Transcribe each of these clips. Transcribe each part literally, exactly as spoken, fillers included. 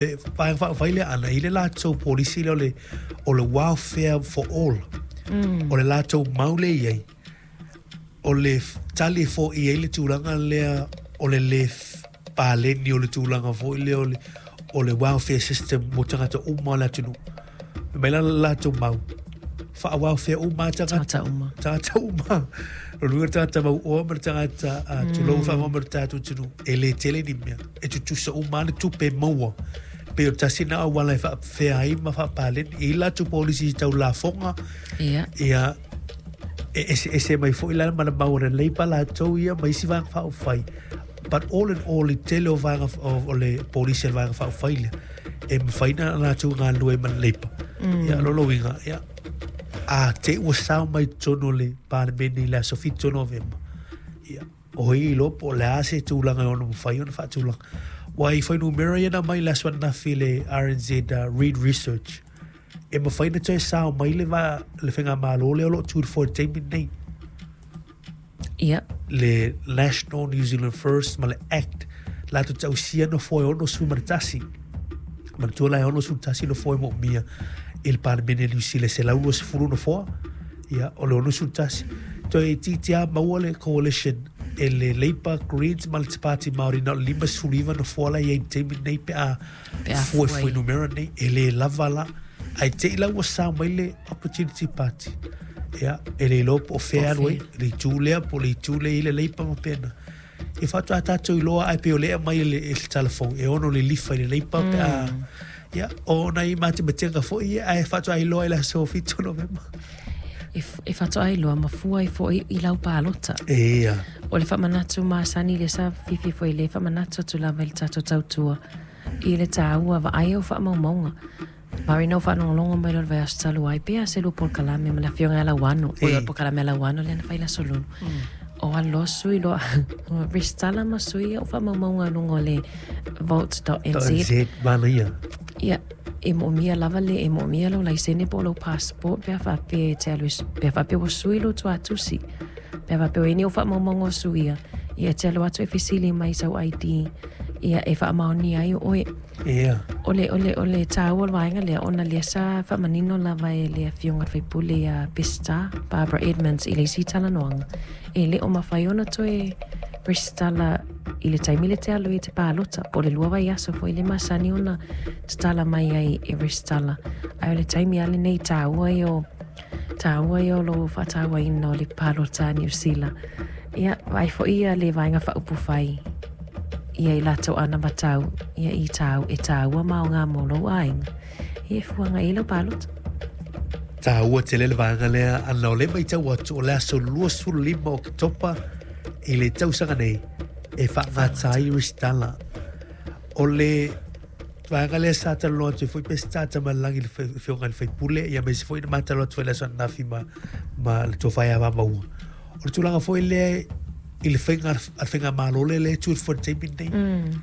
Vaega Faaupufai lea ana i le latou polisi lea o le, o le welfare for all. Mm. O le latou mau lea i ai. O le tali foi ai le tulaga lea o le le paleni o le tulaga foi lea o le, o le welfare system mo tagata uma o le atunuu. Mai la latou mau faa-welfare uma tagata. Tagata uma. Tagata uma. O le uiga tagata mauoa ma le tagata uh, tulou mm. ma le tatou atunuu. E le tele ni mea. E tutusa uma le tupe maua. Pe o tasi na auala e faafea ai ma faapaleni. E i latou polisi tau lafoga. Ia. Ia, e ese ese mai foi la ma le mau o le Labour latou ia ma isi vaega faaupufai. But all in all, i tele o vaega o le polisi a le Vaega Faaupufai lea, e mafai ona latou galulue ai ma le Labour. Mm. Ia, lona uiga, ia, a te ua sao mai totonu o le Palemene i le aso fitu o Novema, ia, o ai e iloa po o le a se tulaga e ono mafai ona faatulaga. Ua i fuainumera ia na aumai i le aso ananafi i le R N Z uh, Reid Research, e mafai ona toe sao mai le, va, le faigamalo lea o lo o tu i le foe i le taimi lenei. Ia. Le National New Zealand First ma le Act, latou te ausia nofoa e ono ma le tasi. Manatua la e ono tasi nofoa e moomia i le Palemene Niu Sila e selau luasefulu nofoa, ia, o le ono tasi. Toe itiiti lava maua le coalition e le Labour, Greens ma le Te Pāti Māori na o le limasefulu iva nofoa la i ai i le taimi lenei pe a fua i fuainumera nei, e le lava la. Ae te i la ua sao mai le Opportunity Party. Ia, e le iloa po o fea alu ai, le itu lea po o le itu lea i le Labour ma pena. E faatoa tatou iloa ae pei o lea aumai e le, e le talafou, e ono lilifa i le Labour pe a... Ia, o nai matematega foi ia, ae faatoa iloa i le aso fitu o Novema. E, e faatoa iloa ma fua ai foi i lau palota. Ia. O le faamanatu masani lea sa fiafia foi le faamanatu atu lava i le tatou tautua i le taua vaai au faamaumauga. Mari no whanongongo mai lo vaiaso talu ai pea se lua polokalame ma le afioga ia Lauano. O le polokalame a Lauano lea na fai le aso lulu. O alu loa sui loa resitala ma sui au faamaumauga i luga o le vote dot n z. .nz, manaia. Ia, e moomia lava le, e moomia lou laisene po o lou passport pe a faapea e te alu e, pe a faapea ua sui lou tuatusi. Pe a faapea o i ai ni au faamaumauga o suia, ia e te alu atu e fesili mai sau I D, ia e faamaonia ai o oe. Ia. O le, o le, o le taua o le vaega lea, ona lea sa faamanino lava e le afioga i le faipule ia Pesita, Barbara Edmonds, i le isi talanoaga. E le o mafai ona toe resitala i le taimi le te alu i te palota, po o le lua vaiaso foi le masani ona tatala mai ai e resitala. Ae o le taimi a lenei taua i o, taua i o lo faatauaina o le palota a Niu Sila. Ia, vaai foi ia le vaega faaupufai ia i latou anavatau, ia i tau, e taua ma o ngā mō lou aiga. Ia e fuanga i lau palota. Taua tele le vaega lea, ana o le maitau atu o le aso luasefulu lima o Oketopa i le tausaga nei, e faagata ai resitala. O le vaega lea sa talanoa atu ai foi Pesita Tamalelagi i le afioga i le faipule, ia aemaise foi na ma talanoa atu foi le aso ananafi ma, ma le tofa ia Vamaua. O le tulaga foi lea i le faiga a le faigamalo lea lea e tu i le foe i le taimi lenei.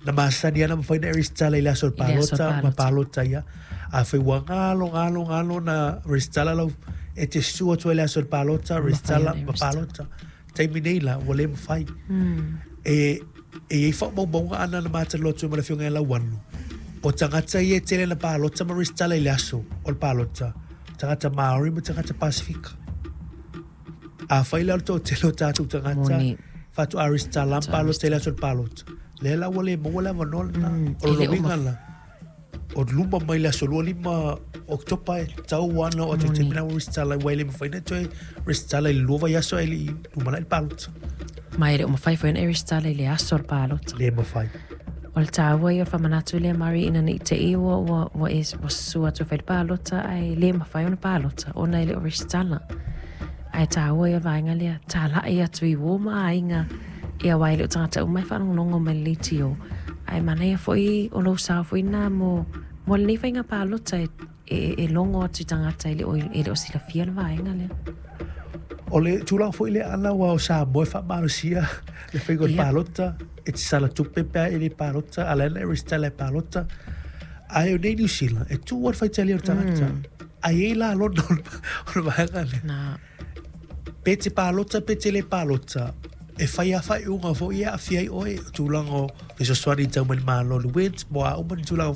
Na masani lava na mafai ona e resitala i le aso o le palota ma palota ia. A fai ua galo, galo, galo na resitala lau, e te susu atu ai le aso o le palota, resitala ma palota. Taimi nei la, ua le mafai. E, e i ai faamaumauga ana na matalaloa atu ai ma le afioga ia Lauano. O tagata ia e tele na palota ma resitala i le aso o le palota, tagata Māori ma tagata Pasifika. A fai la o le toatele o tatou tagata, faatoa resitala ma palota i le aso o le palota. Lea la ua le maua le avanoa lena. O lona uiga la, o luma mai le aso lua lima Oketopa e tau ana o atu i taimi la ua resitala aua e le mafai ona toe resitala i le lua vaiaso ae le i lumanai le palota. Ma e le o mafai foi ona e resitala i le aso o le palota. Le mafai. O le taua ia o le faamanatu lea Mari ina nei te i ua, ua, ua e ua susu atu e fai le palota ae le mafai ona palota ona e le o resitala. Ae taua ia o le vaega lea, talai atu i uo ma aiga ia aua e le o tagata uma e faalogologo mai le leitio. Ae manaia foi o lou sao foi nā mo, mo lenei faiga palota e, e, e logo atu i tagata e le o, e le o silafia le vaega lea. O le tulaga foi lea ana ua o Samoa e faamalosia le faiga o le palota, e te sala tupe pe a e le palota, a la e resitala e palota. Ae o nei Niu Sila, e tuu a le faitalia o le tagata. Ae ei la lona o le vaega lea. Nā. Pe te palota, pe te le palota, e fai a whai unga fo ia a whiai oe, tulaga o fesoasoani tau mai le Malo le W I N S, mo a uma ni tulaga